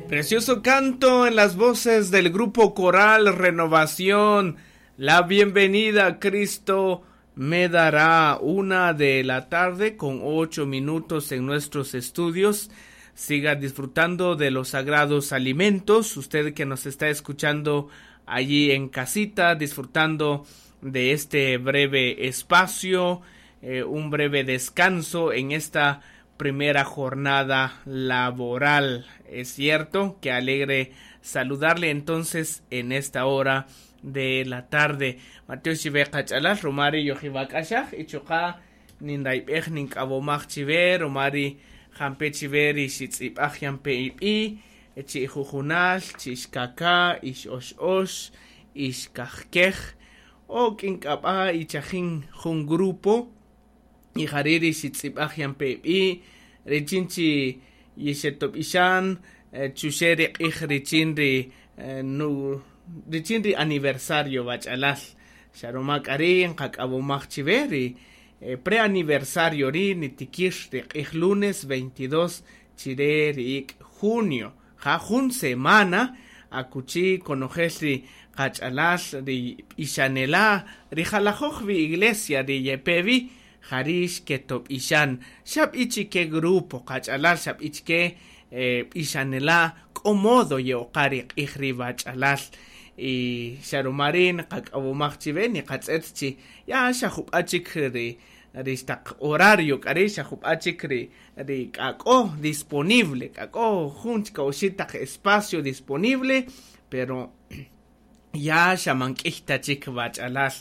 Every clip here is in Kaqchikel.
Precioso canto en las voces del grupo coral Renovación. La bienvenida Cristo me dará. 1 de la tarde con 8 minutos en nuestros estudios. Siga disfrutando de los sagrados alimentos. Usted que nos está escuchando allí en casita, disfrutando de este breve espacio, un breve descanso en esta primera jornada laboral. Es cierto que alegre saludarle entonces en esta hora de la tarde. Mateo chiwe qach'alal rumari yojibak'axaj y chuqa ninrayb'ej nink'awomaj chiwe rumari jampe chiwe ri xitz'ib'aj yampe ib'i chi ijujunal chi ixkaka ix ox ox ix kajkej o k'ink'ab'a ichajin jun grupo y jari ri xitz'ib'aj yampe ib'i richin chi yixetob'ixan chuxe ri q'ij richin ri nu richin ri aniversario wach'alal xa ruma k'a ri' nqak'awomaj chiwe ri preaniversario ri nitikir ri q'ij lunes 22 chire ri ik' junio ja jun semana akuchi konojel ri qach'alal ri b'ixanela ri jalajoj wi iglesia ri yepe wi jari xketob'ixan xab'i chike grupo qach'alal xab'i chike b'ixanela k'o modo ye'oqa ri q'ij ri wach'alal y xa ruma ri' nqak'awomaj chiwe niqatz'et chi ya xa jub'a chik ri taq horario k'a ri' xa jub'a chik ri k'a k'o disponible k'a k'o jun chik oxi' taq espacio disponible, pero ya xa man k'iy ta chik wach'alal.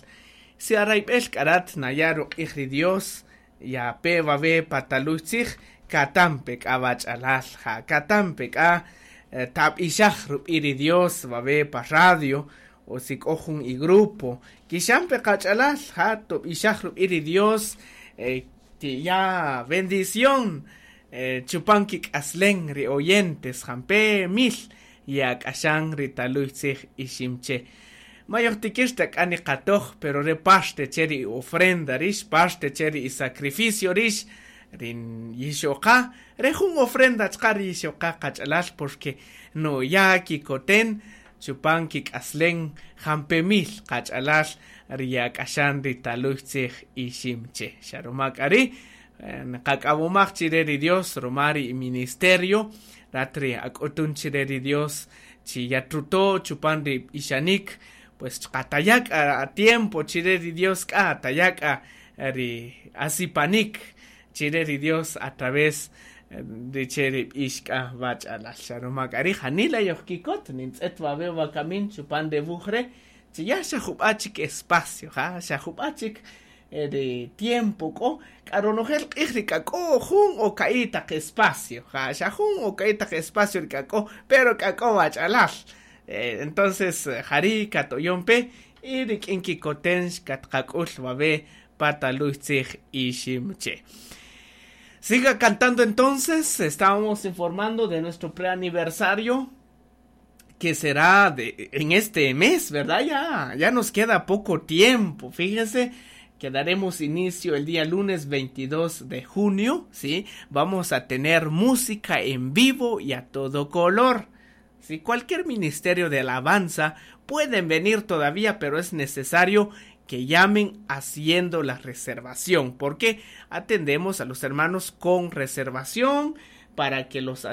Si arayb'el k'a rat naya' ruq'ij ri Dios ya pe wawe pataluy tzij katampe k'a wach'alal ja katampe k'a tab'ixaj rub'i ri Dios wawe pa radio o si k'o jun i grupo kixampe qach'alal ja tob'ixaj rub'i ri Dios tiya bendición chupan kik'aslen ri oyentes jampe mil yak'axan ri taluy tzij iximche mayojtikir ta k'a niqatoj, pero re parte che ri ofrenda rix, parte che ri sacrificio rix ri yixoqa re jun ofrenda chqa ri yixoqa qach'alal, porque no ya kikoten chupan kik'aslen jampe mil qach'alal ri yak'axan ri taluy tzij iximche. Xa ruma k'a ri' nqak'awomaj chire ri Dios ruma ri ministerio rat ri ak'utun chire ri Dios chi yatruto chupan ri b'ixanik, pues chqataya' k'a tiempo chire ri Dios, k'a taya' k'a ri asipanik chire ri Dios a través de che ri b'ix k'a wach'alal. Xa ruma k'a ri' janila yojkikot nintz'et wawe wakamin chupan re wuj re' chi ya xa jub'a chik espacio, ja xa jub'a chik ri tiempo k'o k'a ronojel q'ij ri k'a k'o jun o ka'i' taq espacio, ja xa jun o ka'i' taq espacio ri k'a k'o, pero k'a k'o wach'alal. Entonces jari' katoyon pe y rik'in kikoten xkatqak'ul wawe pataluy tzij iximche. Siga cantando entonces, estábamos informando de nuestro preaniversario que será en este mes, ¿verdad? Ya, ya nos queda poco tiempo, fíjese que daremos inicio el día lunes 22 de junio, ¿sí? Vamos a tener música en vivo y a todo color. Si cualquier ministerio de alabanza pueden venir todavía, pero es necesario que llamen haciendo la reservación, porque atendemos a los hermanos con reservación para que los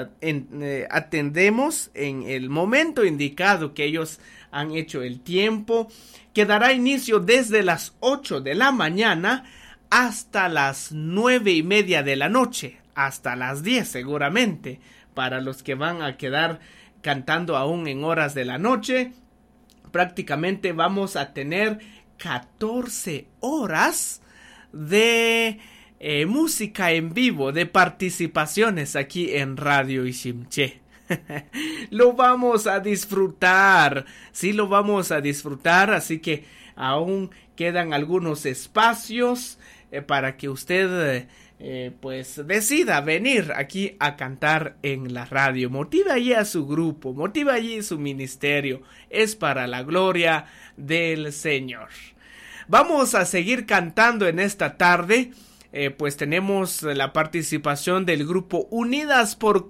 atendemos en el momento indicado que ellos han hecho el tiempo, que dará inicio desde las 8 de la mañana hasta las 9:30 de la noche, hasta las 10 seguramente, para los que van a quedar cantando aún en horas de la noche. Prácticamente vamos a tener 14 horas de música en vivo, de participaciones aquí en Radio Iximché. Lo vamos a disfrutar, sí lo vamos a disfrutar, así que aún quedan algunos espacios para que usted pues decida venir aquí a cantar en la radio. Motiva allí a su grupo, motiva allí su ministerio. Es para la gloria del Señor. Vamos a seguir cantando en esta tarde. Pues tenemos la participación del grupo Unidas por